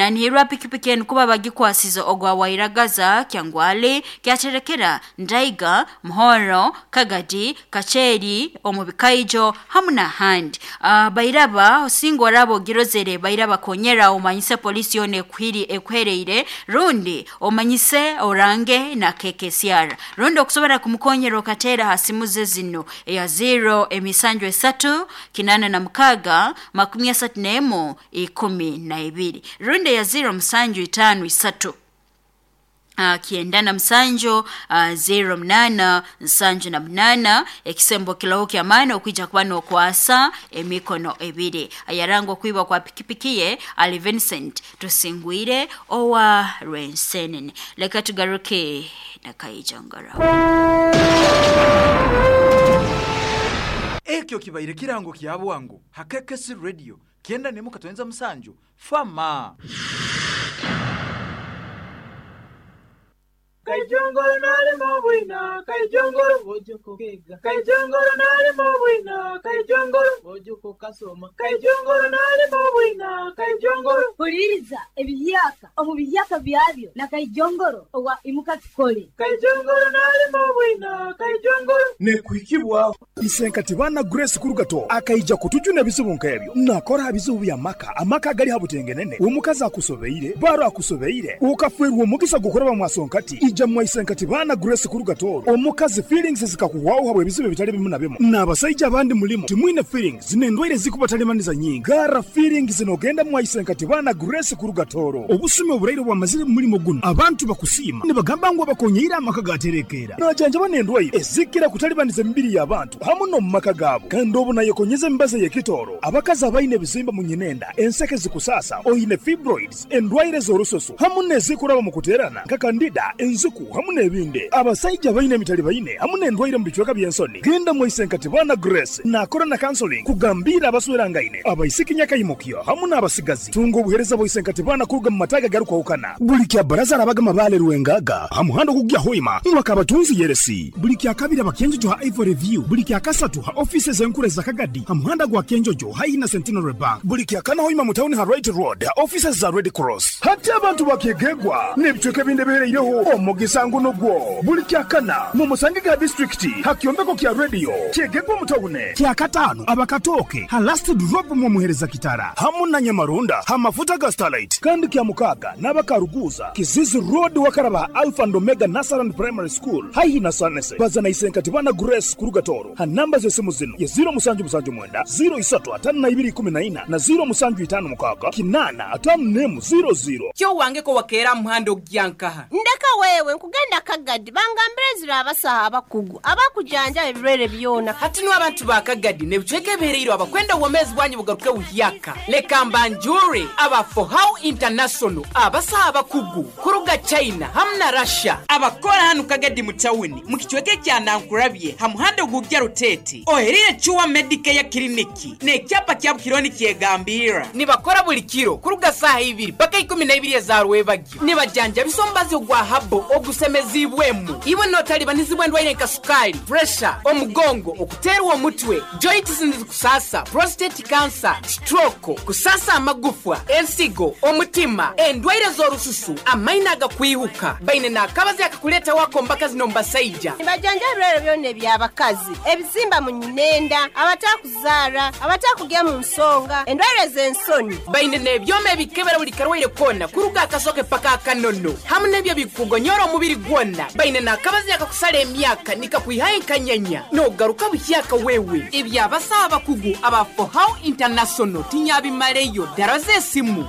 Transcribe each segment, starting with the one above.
Nanihirwa pikipiki enu kuba bagikwasize ogwa Wairagaza, Kyangwali, Kyaterekera, Ndaiga, Muhoro, Kagadi, Kacheri, omu Bikaijo hamu n'ahandi. Bairaba osinga oraba ogirozere bairaba konyera omanyise polisi yoona ekuhiri ekuhereire rundi omanyise orange na KKCR rundi okusobora kumukonyera okateera ha simu ze zino eya 0 emisanju 3 86 31 12 rundi eya 0 musanju 5 3 97 08 78 ekisembo kilaho kyamaani okwija kuba n'okwasa emikono ebiri. Ayaranga okwiba kwa pikipiki ye ali Vincent Tusingwire owa Rwensenene. Leka tugaruke na Kaijangara. Ekyo kibaire kirango kya bwangu ha KKC Radio 91.7 Fama. Kaijongoro nalimo bwina, kaijongoro ojoko kega, kaijongoro nalimo bwina, kaijongoro ojoko kasoma, kaijongoro nalimo bwina, kaijongoro. Huliriza ebiyaka omu biyaka byabyo na kaijongoro owa imuka tukole. Kaijongoro nalimo bwina, kaijongoro. Nekuhikibwa isenkati bana Grace Kurugato akaija kutujuna ebizibu nk'ebyo nakora bizibu bya maka amaka gali habutengenene omukazi akusobeire baro akusobeire ukafwerwa omugisa gukoraba mwasonkati ija mwaisenkati bana Grace Kurugato omukazi feelings zikakuhwaho habwe ebizibu ebitali bimu na bimu n'abasaija abandi mulimo timwine feelings n'endwaire zikubatalimaniza nyingi gara feelings nogenda mwaisenkati bana Grace Kurugatoro obusumi oburaire bwamazire mu mulimo guno abantu bakusiima nibagamba ngu abakonyeire amaka gaterekera najanjaba n'endwaire ezikira kutalibaniza emibiri y'abantu hamu n'omu maka gaabo kandi obu nayekonyeza emibazi ey'ekitooro abakazi abaine ebizimba mu nyinenda enseke zikusasa oine fibroids endwaire z'orususu hamu n'ezikuraba mu kuteerana nka kandida enziku hamu n'ebindi abasaija baine emitali baine hamu n'endwaire mu bicweka by'ensoni genda mwaisenkati bana Grace nakora na counseling kugambira abaswerangaine abaisiki nyakaimukyo hamu n'abasigazi tunga obuhereza bwaisenkati bana kuruga mu mataga garukwahukana buli kya baraza arabaga mabale rwengaga ha muhanda ogugya hoima mwaka abatunzi yeresi buli kya kabiri abakenjojo ha Ivory View buli kya kasatu ha offices enkuru za Kagadi ha muhanda gwa Kenjojo haihi na Centenary Bank buli kya kana hoima mu town ha Right Road ha offices za Red Cross hati abantu bakyegegwa n'ebicweka ebindi ebihereireho omugisa nguno gwo buli kya kana mu musangi ga district ha kyombeko kya radio kyegegwa mu tawune kya katano abakatoke ha last drop mu muhereza kitara hamu na Nyamarunda ha mafuta ga Starlight kandi kya mukaga n'abakaruguza Kizizi Road wakaraba Alpha and Omega Nasaran Primary School haihi na Sanese bazana isenkati bana Grace Kurugatoro ha namba z'esimu zino ye 0779 035214 na 0756 851 00 Kyo wangeko wakeera muhanda ogyankaha Ndeka wewe nkugenda Kagadi bangambire zira abasaha abakugu abakujanja ebirwere byona. Hati no abantu ba Kagadi nebicweka ebihereire abakwenda obwomezi bwanyu bugaruke buhyaka leka mbanjure aba For How International abasaha abakugu kuruga China hamu na Russia abakora hanu Kagadi mu tawuni mu kicweka ekya Nankurabye ha muhanda ogugya Rutete oherire Chua Medicare Clinic n'ekyapa kya Bukironi kyegambira nibakora buli kiro kuruga saha ibiri paka 12 eza rwebagyo nibajanja bisombazi ogwa habo ogusemezibwemu iwe notalibanizibwa endwaire nka sukali pressure omugongo okuterwa omutwe joints nizikusasa prostate cancer stroke kusasa amagufwa ensigo omutima endwaire z'orususu amaina agakwihuka baine n'akabazi akakuleta wako mbaka zino mbasaija Nibajanja ebirwere byona eby'abakazi ebizimba mu nyinenda abatakuzaara abatakugya mu nsonga endwaire z'ensoni baine n'ebyoma ebikebera buli karwaire kona kuruga akasoke paka akanono hamu n'ebyo bikugonyora omubiri gwona baine n'akabazi akakusala emyaka nikakwihayo enkanyanya n'ogaruka buhyaka wewe ebyabasaha abakugu aba For How International tinyabimaleyo ddala z'esimu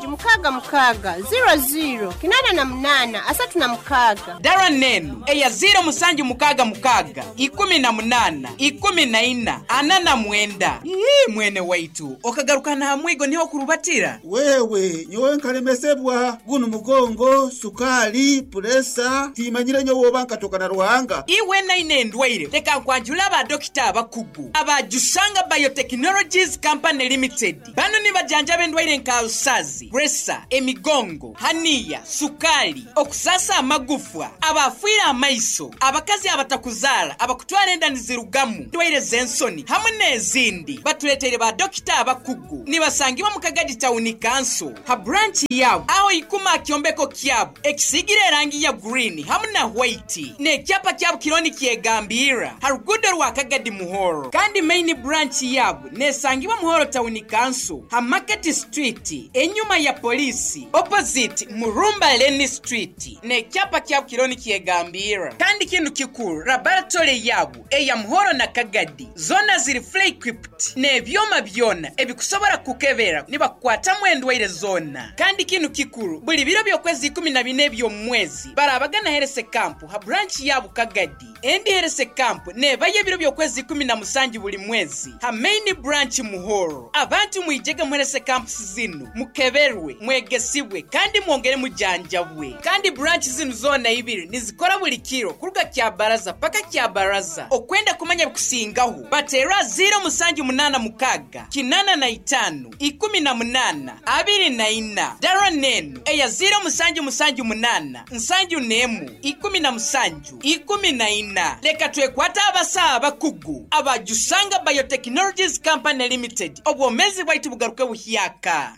0766 00 88 36 dara nenu eya 0766 18 14 49. Ii, mwene waitu okagaruka na hamwigo niho kurubatira Wewe nyowe nkalemesebwa guno mugongo sukali puresa, timanyire nyowe oba nkatoka na Ruhanga. Iwe naine endwaire, leka nkwanjule aba dokita abakugu aba Jusanga Biotechnologies Company Limited. Banu nibajanjaba endwaire nka alusazi, puresa, emigongo, haniya, sukali, okusasa amagufwa, abafiire amaiso, abakazi abatakuzaara, abakutwara enda nizirugamu, endwaire z'ensoni hamwe n'ezindi. Batuleteire ba dokita abakugu. Nibasangibwa mu Kagadi Town Council ha branch yaabo aho ikuma aha kyombeko kyabo ekisiigire erangi ya green hamu na white n'ekyapa kyabo kiriho nikyegambirra ha ruguudo rwa Kagadi Muhoro. Kandi main branch yaabo nesangibwa Muhoro Town Council ha Market Street enyuma ya poliisi opposite Murumba Lane Street n'ekyapa kyabo kiriho nikyegambirra. Kandi kinu kikuru laboratory yaabo eya Muhoro na Kagadi zoona ziri fully equipped n'ebyoma byona ebikusobora kukebera nibakukwatamu endwaire zoona. Kandi kinu kikuru buli biro by'okwezi 14 eby'omu mwezi barabagana health camp ha branch yaabo Kagadi. Endi health camp nebayo ebiro by'okwezi 17 buli mwezi ha main branch Muhoro. Abantu mwijege mu health camps zinu mukeberwe, mwegesibwe kandi mwongere mujanjabwe. Kandi branch zinu zoona ibiri nizikora buli kiro kuruga kya baraza paka kya baraza. Okwenda kumanya bikusingaho batera 0786 85 18 24 dara nenu eya 0778 71 17 14. Leka twekwata abasaha abakugu abajusanga Biotechnologies Company Limited, obwomezi bwaitu bugaruke buhyaka.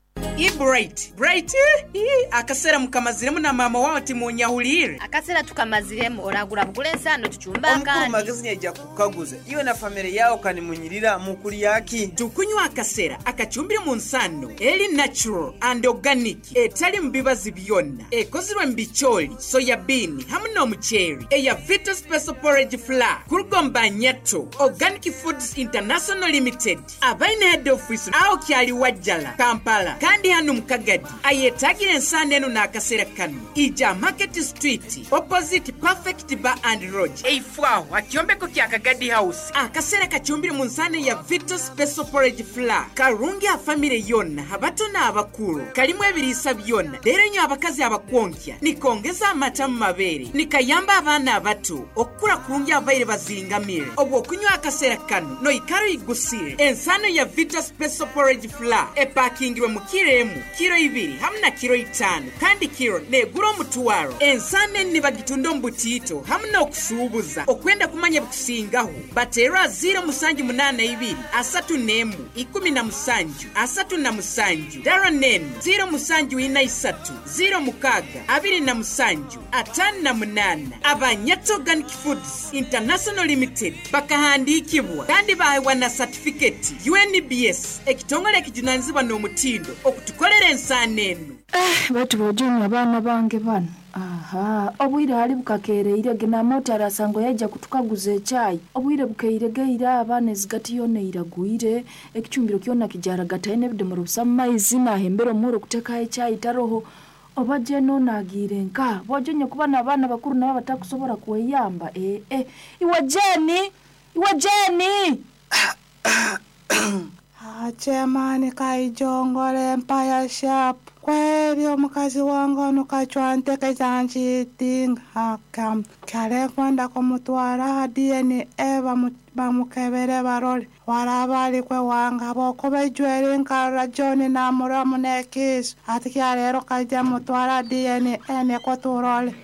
Bright Bright, akasera mukamaziremu na mama wawe timunyahulire. Akasera tukamaziremu, oragura bugule ensano tuchumba Omukuru akandi. Magezi nyaija kukaguza iwe na famire yawo kanimunyirira mukulyaki. Tukunywa akasera akacumbire mu nsano eri natural and organic, etali mu bibazi byonna, ekozirwe mu bicooli, soya bean hamwe n'omuceeri, eya Vita Special Porridge Flour kuruga mu Banyato Organic Foods International Limited, abaine head office aho kyali Wajjala, Kampala, kandi hano mu Kagadi. Ayetagira ensano eno n'akasera kano, ija Market Street opposite Perfect Bar and Lodge, eifwaho akyombeko kya Kagadi House. Akasera kacumbire mu nsano ya Vita Special Porridge Flour karungi a famire yonna, abato n'abakuru, kalimu ebiriisa byonna. Leero nyo abakazi abakwonkya nikongeza amata mu mabeere, nikayamba abaana abato okukura kurungi abaire bazingamire. Obwo okunywa akasera kano noikara oyigusire. Ensano ya Vita Special Porridge Flour epakingirwe mu kiro emu, kiro 2 hamwe na kiro 5, kandi kiro negura omutwaro. Ensano eni nibagitunda omu butiito hamwe n'okusuubuza. Okwenda kumanya bikusingaho bateera 0782 31 17 37, dara nenu 0743 06 27 58. Abanyato Organic Foods International Limited bakahandikibwa kandi bahewa na certificate UNBS, ekitongole ekijunanizibwa n'omutindo okutukolera ensaano eno. Batu bojoni abaana bange bano. Aha, obwire hali bukakereire genamoti arasango yaija kutukaguza ekyayi. Obwire bukeiregeire abaana ezigati yona iragwire, ekicumbiro kyona kijaragataine ebidomoro busa mu maizi nahembera omuhoro kutekaho ekyayi taroho. Oba jeno nagiire nka, bojonye kuba n'abaana bakuru nabo batakusobora kweyamba. Iwe Jeni, iwe Jeni. Achemani kaijongole empaya sharp. Kweli omukazi wange ono kacwanteke zanchitinga hakam. Kyale kwenda kumutwara ha DNA bamukebere barole. Waraba alikwe wanga bokuba ijweri nkarora John namuramu n'ekiiso. Ati kyaleero kaija mutwara DNA niko turole.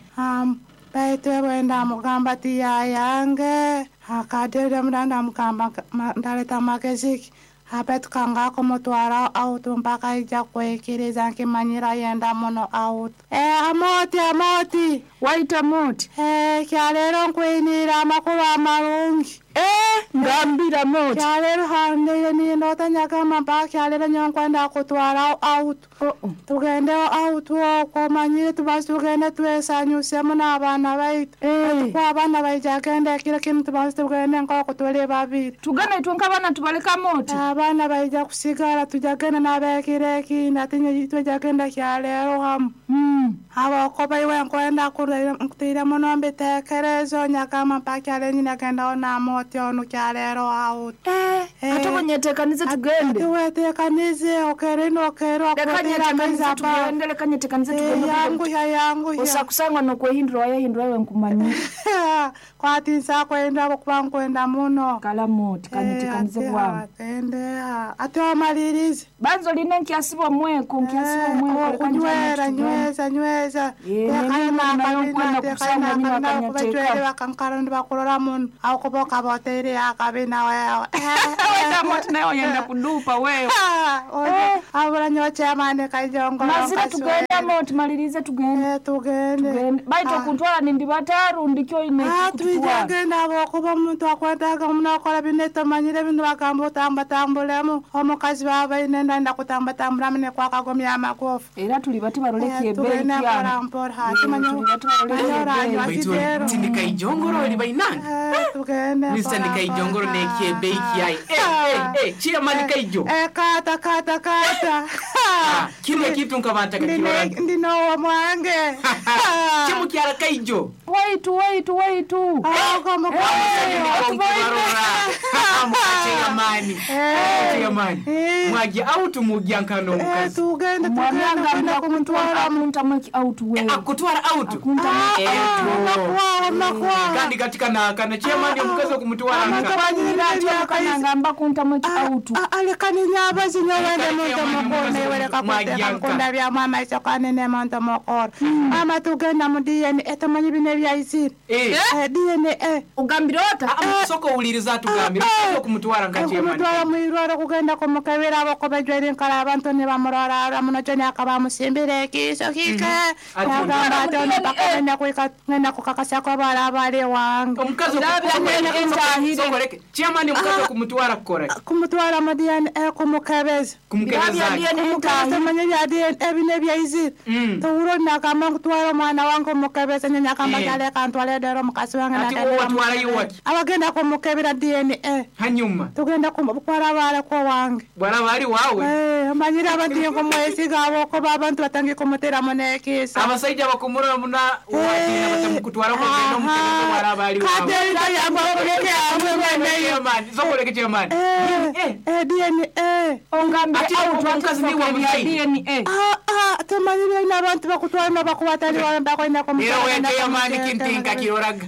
Baitu bwenda mugamba ti yayange. Akadere mudanda mugamba ndaleta magezi. Abetu kangako mutwara autu mpaka ija kwekiriza nkimanyira yenda muno autu. Amoti, amoti. Waita moti. Kyalero nkwinira amakuru amarungi. Ngambira moti. Kyalero handire nindota nyagamba mpaka kyalero nyo nkwenda kutwara autu. Tugende autu okwo manyire tubaze tugende twesanyusemu n'abaana baitu. Kwa abaana baija genda ekiro kimu tubaze tugende nk'oku tuli babiri. Tugende itwe nk'abaana tubaleka moti. Abaana baija kusigara tujya genda n'abekiro ekindi ati nyo tujya genda kyalero hamu. Abakoba iwe nkwenda nkutire muno mbitekerezo nyagamba mpaka kyalero nyine gendaho n'amoti. moti onu kyaleero out. Ate bonyetekanize tugende. Wetekanize okerino okero Leka nyetekanize tugende, leka nyetekanize tugende. Yanguya yanguya. Osakusangwa nokwehindura wayehindura wewe nkumanyira. Kwatinsa kwenda okuba nkwenda muno. Kala moti kanyetekanize bwangu. Ende ate omalirize. Banzo line nkyasiba omweko, nkyasiba omweko. Leka Kunywera njane tugende. nyweza nyweza. Nayo nkwenda kusangwa nyina akanyateka. Bakankara ndibakurora muno aho botere akabina wewe. Wenda moti nayo yenda kudupa wewe. Abura nyo chairman kaijongoro. Mazira tugende moti malirize tugende. Tugende. Baito kuntwala nindi bataru ndikyo ine kututwala. Tugenda abokuba omuntu akwetaga omunakola bino tomanyire bino bagamba otambatambulemu omukazi baba ine ndanda kutambatambulamu nekwakagomya amagufa. Era tuli bati baroleki ebei Tugende kyano. mpola mpola tumanye Baitu tindika ijongoro oli bainanga. Tugende Mr. Nikaijongoro nekyebei kyai. Chairman Kaijo. Kata kata kata. Kile kitu nkabanta kakirora. Ndinowo mwange. Chimukyala Kaijo. Waitu waitu waitu. Chairman. Chairman. Mwajja out mujja nkano omukazi. Tugende Mwananga mbwa kumutwala muntamweki out wewe. Akutwala out. Kandi katika na kana chairman omukazi okumutwala nka. Nangamba kuntamweki out. Alekaninya abazinya wende muntu mukuru iwereka kuteka nkunda bya mama iso kanene muntu mukuru. Mama tugenda mu DNA tumanyi bino ebyaisire. DNA. Ugambira ota? Soko owuliriza atugambira omukazi okumutwala nka chairman. Okumutwala mwirwaro kugenda kumukebera abokobejwere nkala abantu ne bamurora muno joni akabamusimbira ekiiso kike. Nagamba ati ono paka ngenda kuika ngenda kukakasako bala bali wange. Omukazi okumutwala. Chairman omukazi okumutwala kukola. Kumutwala mu DNA kumukebeza. Kumukebeza. Kumukebeza manye bya DNA bino ebyaizire. Towuro nakamba nkutwala omwana wange omukebeza nyanya akamba kyaleka ntwale dero omukazi wange Ati wowe watwalayo waki? Abagenda kumukebera DNA. Hanyuma Tugenda kumutwala baleko wange. bwalaba ali waawe. Manyire abantu nkumwesiga abokuba abantu batangiye kumuteramu n'ekiisa. Abasajja bakumurora muna wagenda batamukutwala kugenda omukebeza bwalaba ali waawe. Kate yangu akuleke amwe mweneyo. Chairman, sokoleke chairman. DNA. Ongambire Ati out omukazi ni wa musayi. DNA. Tumanyire ino abantu bakutwala n'obakubatali wawe mbakwenda Era we chairman kintinka kiroraga.